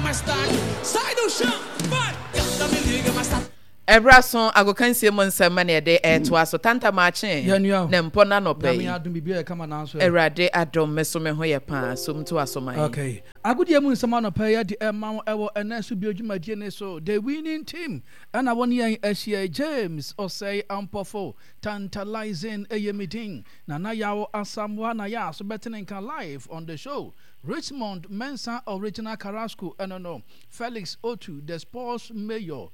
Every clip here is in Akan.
mais tarde. Sai do chão, vai! Gata me liga mais tarde. Ɛberɛ aso agokansie mu nsɛm ma na yɛde ɛretoa so. Tanta Maakye Yɛn ne mpɔ no anɔpa Nyame yi. adom biribiara yɛ kama nanso ɛ. Awurade adom me so me ho yɛ paa so mtoa so ma yɛn. Okay. Agodie mu nsɛm anɔpa yi yɛde ɛma wo ɛwɔ ɛnɛ so bio dwumadie no so. The winning team ɛna wɔne yɛn ahyia yi. James Osei Ampofo, Tantalizing ɛyɛ me din. Nana Yaw Asamoah na yɛ aso bɛte ne nka live on the show. Richmond Mensah Original Carrasco ɛno no. Felix Otu the Sports Mayor.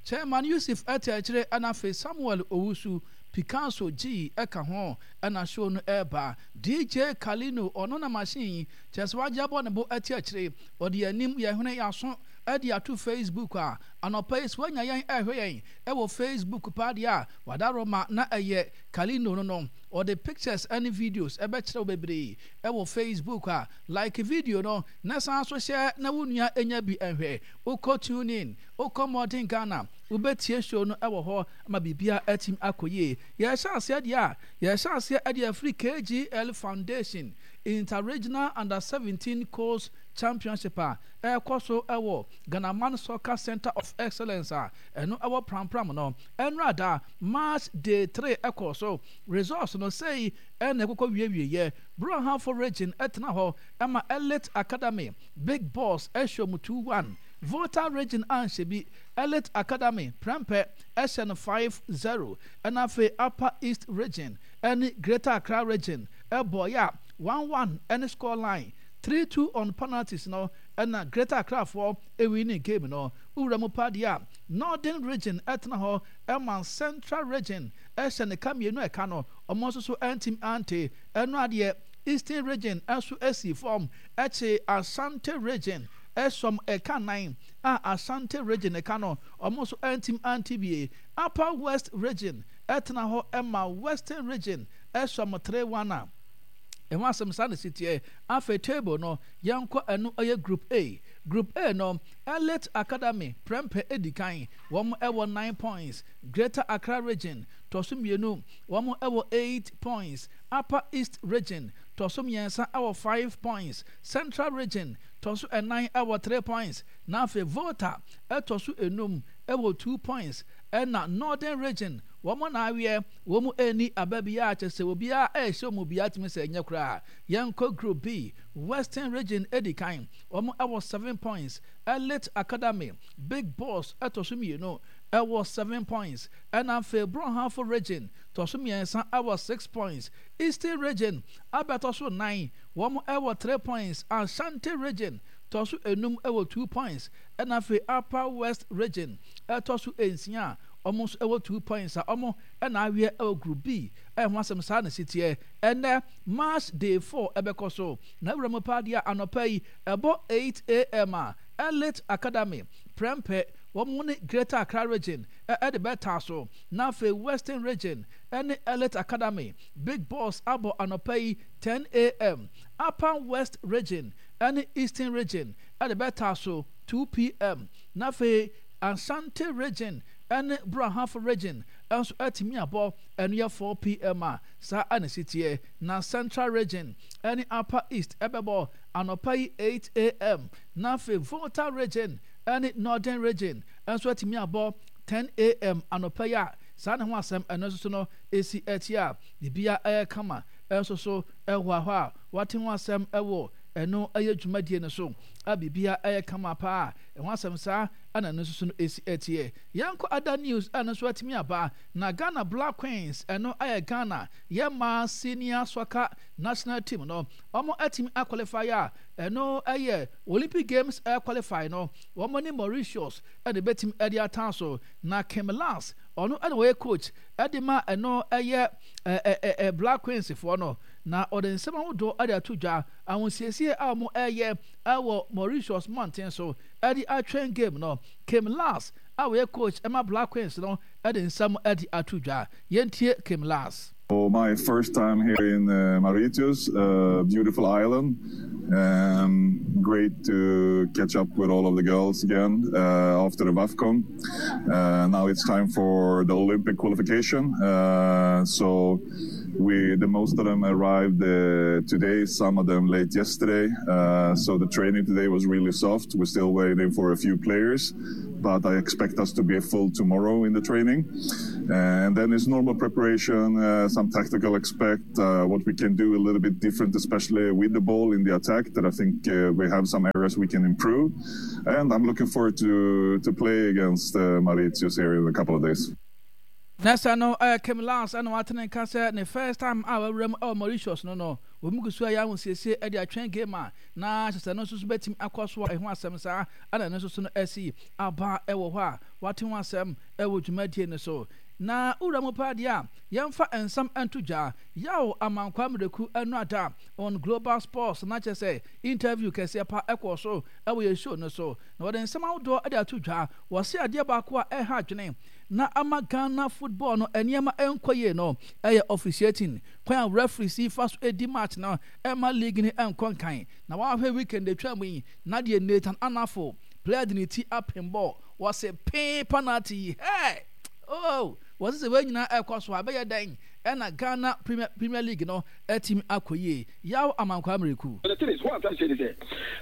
Chairman Yusuf ɛte akyire ɛna afei Samuel Owusu, Picasso G ɛka ho ɛna show no ɛreba. DJ Kalino ɔno na machine yi kyerɛ sɛ wagye abɔ ne bo ɛte akyire. Ɔde yɛn anim, yɛn hwene, yɛn aso ɛde ato Facebook a anɔpa yi sɛ wanya yɛn ɛrehwɛ yɛn ɛwɔ Facebook paa deɛ a wadaroma na ɛyɛ Kalino no no. Ɔde pictures ɛne videos ɛbɛkyerɛ wo bebree ɛwɔ Facebook a like video no na san nso hyɛ na wo nua nya bi nhwɛ. Wokɔ TuneIn, wokɔ Modern Ghana, wobɛtie show no wɔ hɔ ama biribiara atumi akɔ yie. Yɛrehyɛ aseɛ deɛ a, yɛrehyɛ aseɛ de afiri KGL Foundation Inter-Regional Under 17 Colts Championship a ɛrekɔ so wɔ Ghanaman Soccer Centre of Excellence a ɛno wɔ Prampram no. Ɛnnora da, March Day 3 kɔɔ so. Results no, sei na ɛkokɔ wiewieɛ. Brong-Ahafo Region tena hɔ ma Elite Academy, Big Boss hyɛ wɔn 2-1. Volta Region anhyɛ bi, Elite Academy, Prempeh hyɛ no 5-0. Ɛna afei Upper East Region ne Greater Accra Region bɔeɛ a 1-1 ne score line. 3-2 on penalties no na Greater Accrafoɔ winning game no. Wowura mu paa deɛ a, Northern Region tena hɔ ma Central Region hyɛ ne ka mmienu a ɛka no, wɔn nso so antumi ante. Ɛno adeɛ, Eastern Region nso sii fam kyee Ashanti Region sɔm ɛka nan a Ashanti Region ka no, wɔn nso antumi ante bie. Upper West Region tena hɔ ma Western Region sɔm 3-1 a ɛho asɛm saa na ɛsi teɛ. Afei table no, yɛnkɔ ɛno ɛyɛ Group A. Group A no, Elite Academy prɛmpɛ di kan, wɔn wɔ 9 points. Greater Accra Region tɔ so mmienu, wɔn wɔ 8 points. Upper East Region tɔ so mmiɛnsa wɔ 5 points, Central Region tɔ so nnan wɔ 3 points, na afei Volta tɔ so enum wɔ 2 points, ɛna Northern Region wɔn na aweɛ, wɔn nni aba biara, kyerɛ sɛ obiara rehyɛ wɔn biara tumi sɛ ɛnyɛ koraa. Yɛnkɔ Group B, Western Region di kan, wɔn wɔ 7 points, Elite Academy, Big Boss tɔ so mmienu wɔ 7 points, ɛna afei Brong-Ahafo Region tɔ so mmiɛnsa wɔ 6 points, Eastern Region abɛtɔ so nnan, wɔn wɔ 3 points, Ashanti Region tɔ so enum wɔ 2 points, ɛna afei Upper West Region tɔ so nsia a wɔn nso wɔ 2 points a wɔn na aweɛ wɔ Group B. Ɛho asɛm saa na ɛsi teɛ. Ɛnnɛ March Day 4 ɛbɛkɔ so, na wura mu paa deɛ anɔpa yi ɛbɔ 8 am a Elite Academy, Prempeh, wɔn ne Greater Accra Region de bɛtaa so. Na afei Western Region ne Elite Academy Big Boss abɔ anɔpa yi 10 am. Upper West Region ne Eastern Region de bɛtaa so 2 pm. Na afei Ashanti Region ne Brong-Ahafo Region nso atumi abɔ, ɛno yɛ 4 pm a saa na ɛsi teɛ. Na Central Region ne Upper East bɛbɔ anɔpa yi 8 am. Na afei Volta Region ne Northern Region nso atumi abɔ 10 am anɔpa yi a saa ne ho asɛm ɛno nso so no ɛsi akyi a biribiara ɛyɛ kama nso so ɛwɔ hɔ a wate ho asɛm ɛwɔ ɛno ɛyɛ dwumadie no so a biribiara ɛyɛ kama paa ɛho asɛm saa ɛna ɛno nso so no ɛsi akyiɛ. Yɛnkɔ other news ɛno nso atumi aba na Ghana Black Queens, ɛno ɛyɛ Ghana yɛ mmaa senior soccer national team no, wɔn atumi aqualify a ɛno ɛyɛ Olympic Games qualify no, wɔn ne Mauritius ɛna ebɛtumi ɛde atan so. Na Kim Lars, ɔno ɛna wɔyɛ coach ɛde ma ɛno ɛyɛ ɛɛ Black Queens foɔ no, na ɔde nsɛm ahodoɔ ɛde ato dwa ahosiesie a wɔn ɛyɛ ɛwɔ Mauritius mmɔnten so ɛde atwɛn game no. Kim Lars a wɔyɛ coach ɛma Black Queens no ɛde nsɛm ɛde ato dwa. Yɛntie Kim Lars. So my first time here in Mauritius, beautiful island. Great to catch up with all of the girls again after the WAFCON. Now it's time for the Olympic qualification. So We the most of them arrived today, some of them late yesterday. So the training today was really soft. We're still waiting for a few players, but I expect us to be full tomorrow in the training. And then it's normal preparation, some tactical expect, what we can do a little bit different, especially with the ball in the attack, that I think we have some areas we can improve. And I'm looking forward to, to play against Mauritius here in a couple of days. Na sɛ no ɛyɛ Kim Lars ɛna wate ne nka sɛ ne first time a wawura mu ɛwɔ Mauritius no no, wɔn gu so ɛyɛ ahosiesie ɛde atwɛn game a na kyerɛ sɛ no nso so bɛtumi akɔ so a ɛho asɛm saa ɛna ɛno nso so no asi aba ɛwɔ hɔ a wate ho asɛm ɛwɔ dwumadie no so. Na wura mu paa deɛ a yɛmfa nsɛm nto dwa Yaw Amankwaa Mireku ɛno ada on Global Sports na kyerɛ sɛ interview kɛseɛ pa ɛkɔɔ so ɛwɔ yɛn show no so na wɔde nsɛm ahodoɔ ɛde ato dwa. Wɔse adeɛ baako a ɛha adwene na ama Ghana football no nneɛma nkɔ yie no yɛ officiating, kwan a referees yi fa so di match no mma league no nkɔ nkan. Na wahwɛ weekend atwa mu yi na deɛ Nathan Anafo player de ne ti apem bɔɔl, wɔse pee penalty yi hey! Oh! Wɔse sɛ wei nyinaa ɛkɔ so a ɛbɛyɛ dɛn ɛna Ghana Premier, Premier League no atumi akɔ yie? Yaw Amankwaa Miraku. But the thing is, what I'm trying to say is sɛ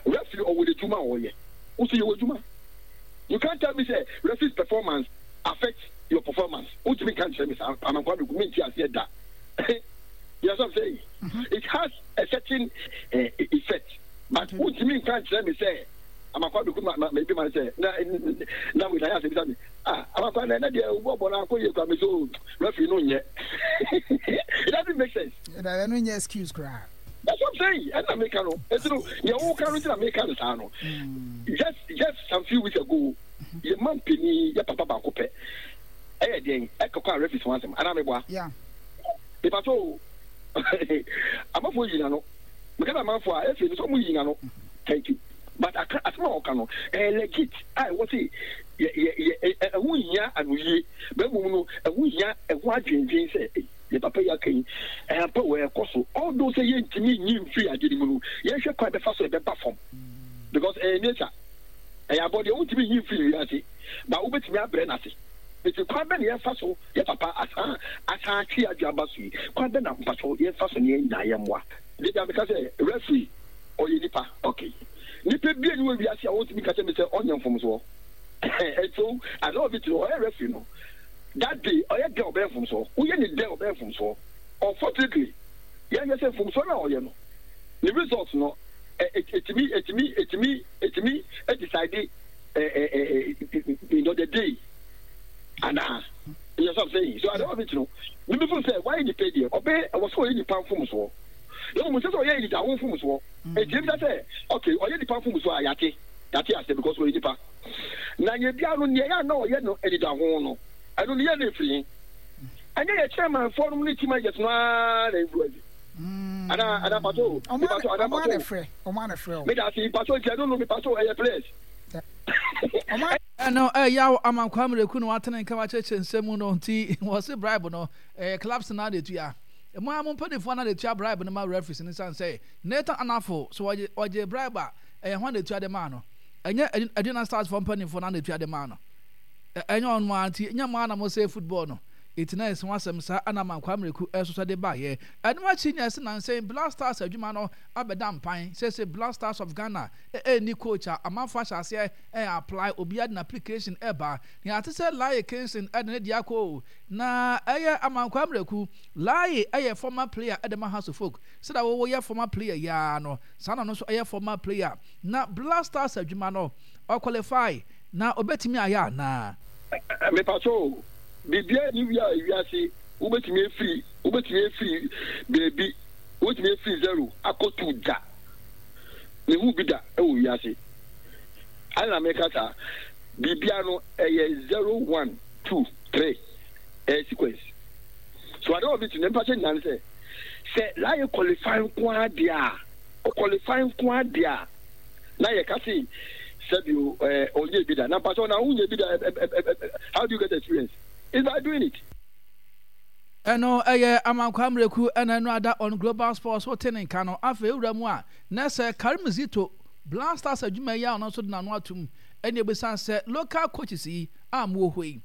referee ɔwɔ n'adwuma a ɔyɛ, wo nso yɛ w'adwuma. You can't tell me sɛ referee's performance affect your performance. Wontumi nka nkyerɛ me saa, Amankwaa Miraku, mente aseɛ da. You know what I'm saying? It has a certain uh, effect, but wontumi nka nkyerɛ me sɛ Amankwaa Miraku ma ma ebi ma no sɛ na na wei na ayɛ asɛ bisa me ah Amankwaa na ɛnɛ deɛ wobɔ bɔ no akɔ yie koraa me so referee no nyɛ. It doesn't make sense. Ɛno nyɛ excuse koraa. That's what I'm saying. Ɛna meka no. Eti no, nea woka no nti na meka no saa no. Just just some few weeks ago, yɛ man panyin yɛ papa baako pɛ. Ɛyɛ deɛn? Ɛkɔkɔ a referees ho asɛm. Anaa meboa? Yeah. Mepa so amanfoɔ yi n'ano. Meka sɛ amanfoɔ a efi no sɛ ɔmo yi n'ano. Thank you. But aka asɛm a ɔka no ɛyɛ legit a ɛwɔ sɛ yɛ yɛ yɛ ɛho hia anoyie. Bɛn mu no ɛho hia ɛho adwendwen sɛ. Deɛ papa yi aka yi, ɛyɛ ampa o, ɛrekɔ so. Although sɛ yɛntumi nyi mfiri adeɛ no mu no, yɛnhwɛ kwan a ɛbɛfa so a ɛbɛba fam. Because ɛyɛ nature, ɛyɛ abɔdeɛ, wontumi nyi mfiri wiase, but wobɛtumi abrɛ no ase. Nti kwan bɛn na yɛmfa so, yɛ papa asan asan atwe yɛn adwene aba so yi, kwan bɛn na mpakyɛw yɛmfa so na yɛn nyinaa yɛmmoa? Da biara meka sɛ referee ɔyɛ nipa, okay. Nipa biara nni wɔ wiase a ɔntumi nka kyerɛ me sɛ ɔnyɛ mfomsoɔ. And so at the end of it no, ɔyɛ referee no, That day ɔyɛ dɛn ɔbɛyɛ mfomsoɔ, woyɛ ne dɛn ɔbɛyɛ mfomsoɔ. Unfortunately yɛnhwɛ sɛ mfomsoɔ no a ɔyɛ no ne result no ɛtumi ɛtumi ɛtumi ɛtumi decide you know the day anaa. You know what I'm saying? So at the end of it no, me me feel sɛ wayɛ nipa deɛ ɔbɛyɛ ɛwɔ sɛ ɔyɛ nipa mfomsoɔ. Na mmom sɛ sɛ ɔyɛ anidaho mfomsoɔ. Eti ebisa sɛ okay ɔyɛ nipa mfomsoɔ a yate yate aseɛ because ɔyɛ nipa. Na yɛ biara no, nea ɛyɛ a na ɔyɛ no anidaho no, ɛno no yɛ na ɛfiri he? Ɛnyɛ yɛ chairmanfoɔ nom ne team managers no ara na influence? Anaa, anaa mpakyɛ o, mepakyɛ, anaa mpakyɛ o, meda ase, mpakyɛ nti ɛno no, mepakyɛ o, ɛyɛ players. Ɛno ɛyaw ama Kwame Reku na watene nka wakyerɛkyerɛ nsɛm mu no nti wɔse bribe no ɛyɛ clubs no ara na ɛtua. Mo ara mo mpanimfoɔ no ara na ɛtua bribe no ma referees no sane sɛ Nathan Anafo so ɔgye ɔgye bribe a ɛyɛ hwan na ɛtua de maa no? Ɛnyɛ Aduana Stars foɔ mpanimfoɔ no ara na ɛtua de maa no. Ɛnyɛ ɔno ara nti nyɛ mo ara na mo sɛe football no. Enti na ɛsɛ ho asɛm saa ɛna ama Kwame Reku ɛsosɔ de baeɛ. Ɛno akyi na ɛse nansa yi Black Stars adwuma no abɛda mpan. Seesei Black Stars of Ghana ɛnni coach a amanfoɔ ahyɛ aseɛ ɛ apply obiara de n'application ɛba. Nea ate sɛ Laye Kingston ɛde ne deɛ akɔ o. Na ɛyɛ Amankwaa Miraku. Laye ɛyɛ former player ɛde ma Hearts of Oak. Sɛdeɛ wo woyɛ former player yi ara no saa na ɔno nso ɛyɛ former player. Na Black Stars adwuma no ɔ qualify na ɔbɛtumi ayɛ anaa? Mepakyɛ o, biribiara nni wia wiase wobɛtumi afiri wobɛtumi afiri baabi wobɛtumi afiri zero akɔ two da. Mehu bi da wɔ wiase. Adɛn na meka saa? Biribiara no ɛyɛ zero one two three ɛyɛ sequence. So ade wɔ bi ti na mepakyɛ nyinaa ne sɛ sɛ laye qualify nko ara deɛ a ɔqualify nko ara deɛ a na yɛka se sɛbi o ɛɛ ɔnyɛ bi da na mpakyɛw na wonyɛ bi da how do you get experience? It's by doing it. Ɛno ɛyɛ Amankwaa Miraku ɛna ɛno ada on Global Sports wote ne nka no afei wura mu a na sɛ Karim Zito Black Stars adwuma yi a ɔno nso de n'ano atom ɛne ɛbɛsiane sɛ local coaches yi a mowɔ hɔ yi.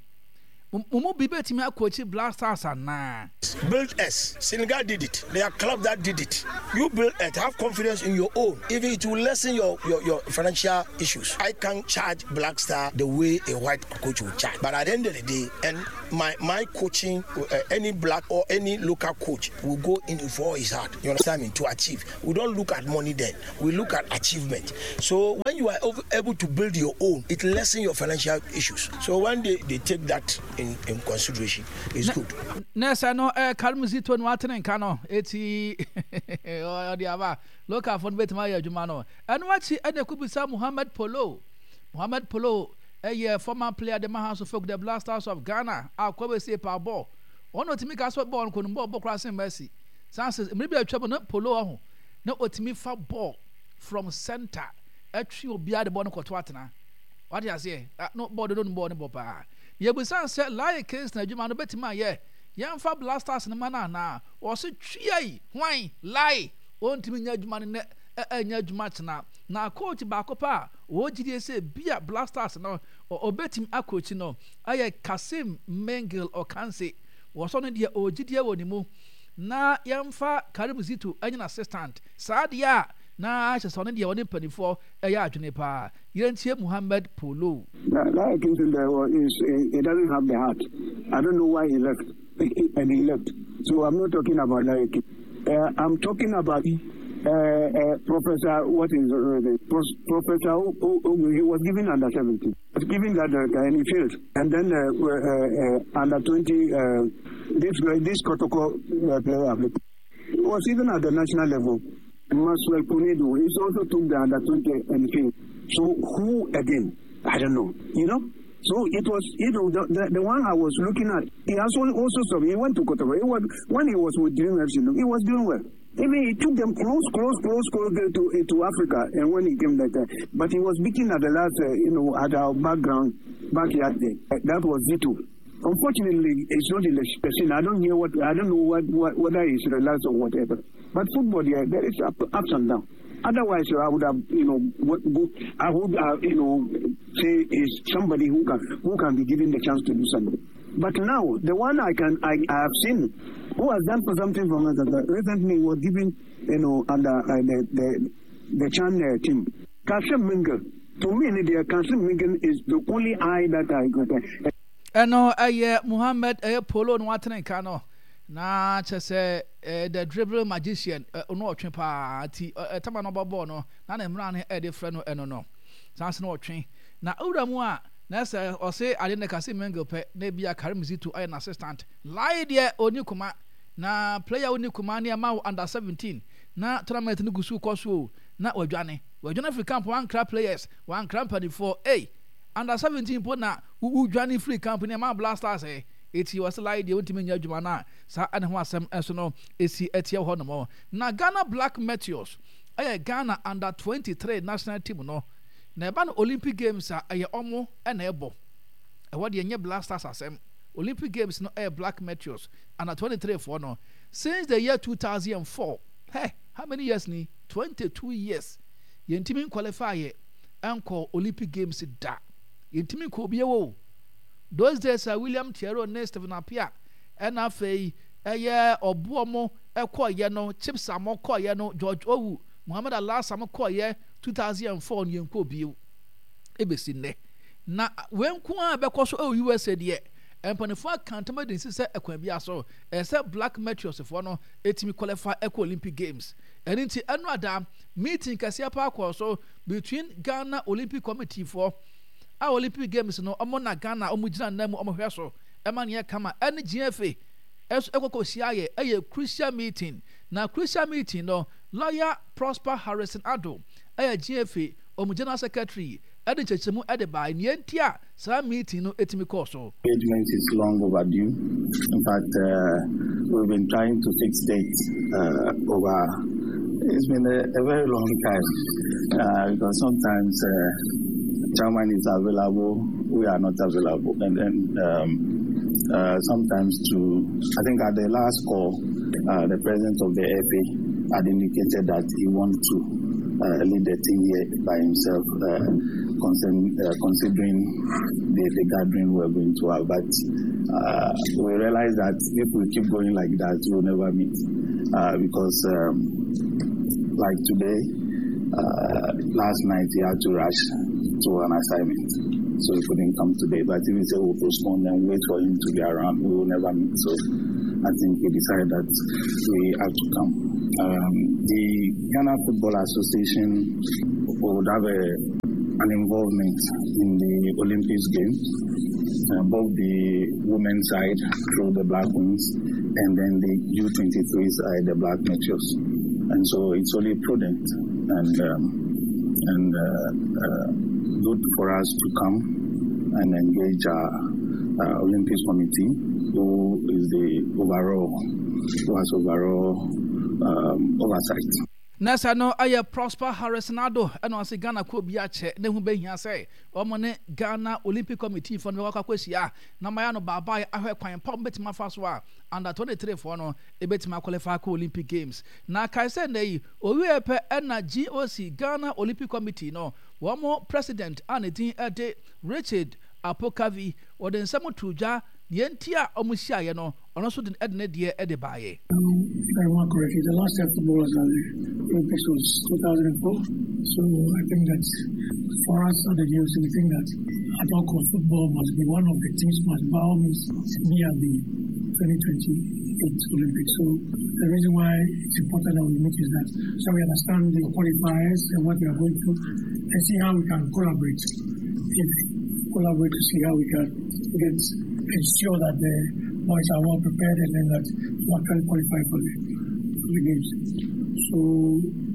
Mo mu bi bɛtumi akɔkyi Black Stars anaa? Build us. Senegal did it. There are clubs that did it. You build it. Have confidence in your own. Even it will lessen your, your, your financial issues. I can charge Black Star the way a white coach will charge. But at the end of the day, and my, my coaching, any black or any local coach will go in for his heart. You understand me? To achieve. We don't look at money then. We look at achievement. So when you are able to build your own, it lessens your financial issues. So when they, they take that in, in consideration, it's good. Nurse no eh Karim Zito no atene nka no eti ɔde aba local fo no betumi ayɛ adwuma no ɛno akyi ɛna ekubisa Muhammad Polo Muhammad Polo ɛyɛ former player de ma House of Folk the Black Stars of Ghana a kɔbɛsie pa bɔɔl ɔno otumi ka so bɔɔl no kɔnum bɔɔl bɔ koraa sen Messi san sɛ mmere bi atwa mu no Polo ɔho na otumi fa bɔɔl from center ɛtwe obiara de bɔɔl no kɔto atena wate aseɛ no bɔɔl dodo no bɔɔl no bɔ paa Yɛbisaa sɛ Laryea Kingston adwuma no bɛtumi ayɛ yɛmfa Blasters no ma no anaa? Ɔse tweai! Hwan? Laryea! Ɔntumi nyɛ adwuma no nnɛ ɛnyɛ adwuma kyena. Na coach baako pɛ a ɔwɔ gyidie sɛ bia Blasters no ɔbɛtumi akɔkyi no ɛyɛ Kassim Mengil Ocansey. Wɔsɔ no deɛ ɔwɔ gyidie wɔ ne mu. Na yɛmfa Karim Zito nyɛ n'assistant. Saa deɛ a na kyerɛ sɛ ɔno deɛ ɔne mpanimfoɔ yɛ adwene paa. Yɛntie Muhammad Polo. That, that Kingston there is, he doesn't have the heart. I don't know why he left. And he left. So I'm not talking about like, I'm talking about Professor, what is Professor, he was given under 70. Was given that and he failed. And then under 20, this this Kotoko player was even at the national level. Maxwell Konedo, he also took the under 20 and failed. So who again? I don't know. You know? So it was, you know, the, the, the one I was looking at, he also, also saw, he went to Kotoko. He was, when he was with Dream FC, he was doing well. Even he took them close, close, close, close to, to Africa. And when he came later, but he was beaten at the last, you know, at our background, backyard there. That was Zito. Unfortunately, it's not in the scene. I don't hear what, I don't know what, what whether it's relaxed or whatever. But football, yeah, there is up, ups and downs. Otherwise, I would have, you know, I would, you know, say is somebody who can who can be given the chance to do something. But now, the one I can I, I have seen who has done for something for me recently was given, you know, under the the the Chan team. Kasim Mingle. To me, the Kasim Mingle is the only eye that I got. Ɛno ɛyɛ Muhammad ɛyɛ Polo no watene nka no na kyɛ sɛ the dribble magician ɔno ɔtwe paa ti ɛtama no ɔbɔ bɔɔl no na ne mmara no ɛde frɛ no ɛno no saa nso na ɔtwe na owura mu a na sɛ ɔse ade no kasi Mengel pɛ na ebi a Karim Zito ayɛ n'assistant Lai deɛ ɔni kuma na player ɔni kuma ne ɛma wo under 17 na tournament no gu so kɔ so o na wadwane wadwane afiri camp wankra players wankra mpanimfoɔ ei under 17 mpo na Wodwane firii camp no ɛmaa Black Stars ɛ eti wɔse lai deɛ wontumi nyɛ adwuma no a saa ɛne ho asɛm nso no esi ɛteɛ wɔ hɔ nom. Na Ghana Black Meteors ɛyɛ Ghana under 23 national team no na ɛba no Olympic Games a ɛyɛ ɔmo ɛna ɛbɔ ɛhɔ deɛ ɛnyɛ Black Stars asɛm Olympic Games no ɛyɛ Black Meteors under 23 foɔ no since the year 2004 hɛ how many years ni 22 years yɛntumi nqualify yɛ ɛnkɔ Olympic Games da. Yɛntumi nkɔ bio o. Those days a William Tiero ne Stephen Appiah ɛna afei ɛyɛ ɔboɔ mo ɛkɔɔyɛ no, Chips a mo kɔɔyɛ no, George Owu, Mohammed Alasa mo kɔɔyɛ 2004 no yɛnkɔɔ bio ɛbɛsi nnɛ. Na wei nko ara bɛkɔ so ɛwɔ USA deɛ, mpanimfoɔ aka ntam adi nsi sɛ ɛkwan biara so ɛsɛ sɛ Black Meteors foɔ no ɛtumi qualify ɛkɔ Olympic Games. Ɛno nti ɛno ada meeting kɛseɛ paa kɔɔ so between Ghana Olympic Committee foɔ a Olympic Games no ɔmo na Ghana ɔmo gyina nan mu ɔmo hwɛ so ɛma no yɛ kama ɛne GFA ɛso ɛkɔ kɔ hyia yɛ ɛyɛ crucial meeting na crucial meeting no lawyer Prosper Harrison Addo ɛyɛ GFA ɔmo general secretary ɛde nkyerɛkyerɛmu ɛde bae nea nti a saa meeting no ɛtumi kɔɔ so. Engagement is long overdue. In fact, we've been trying to fix dates over. It's been a very long time because sometimes chairman is available, we are not available, and then sometimes to I think at the last call, the president of the FA had indicated that he wants to. lead the team here by himself, concern, considering the, the gathering we're going to have. But we realize that if we keep going like that, we'll never meet. Because, um, like today, last night he had to rush to an assignment. So he couldn't come today. But if we say we'll postpone and wait for him to be around, we will never meet. So I think we decided that we have to come. Um, the Ghana Football Association would have a, an involvement in the Olympics Games, both the women's side through the Black Queens and then the U23 side, the Black Meteors. And so it's only prudent and, um, and uh, good for us to come and engage our Olympics committee, who is the overall, who has overall um, oversight. Na sɛ no ɛyɛ Prosper Harrison Addo ɛna ɔse Ghana kuo bi akyɛ ne ho bɛhia sɛ wɔn ne Ghana Olympic Committee foɔ no bɛkɔ akɔhyia na wɔayɛ no baabae ahwɛ kwan pa wɔn bɛtumi afa so a under 23 foɔ no ɛbɛtumi akɔlify akɔ Olympic Games. Na kae sɛ nnɛ yi owieɛ pɛ ɛna GOC Ghana Olympic Committee no wɔn President a ne din de Richard Apokavi wɔde nsɛm too dwa deɛ nti a wɔhyiaeɛ no ɔno nso de ne deɛ de baeɛ. If I remember correctly, the last time football was at the Olympics was 2004. So I think that for us at the GOC, we think that at all costs, football must be one of the teams must by all means be at the 2028 Olympics. So the reason why it's important that we meet is that so we understand the qualifiers and what we are going through and see how we can collaborate. If collaborate to see how we can get ensure that the boys are well prepared and then that we actually qualify for the, for the games. So.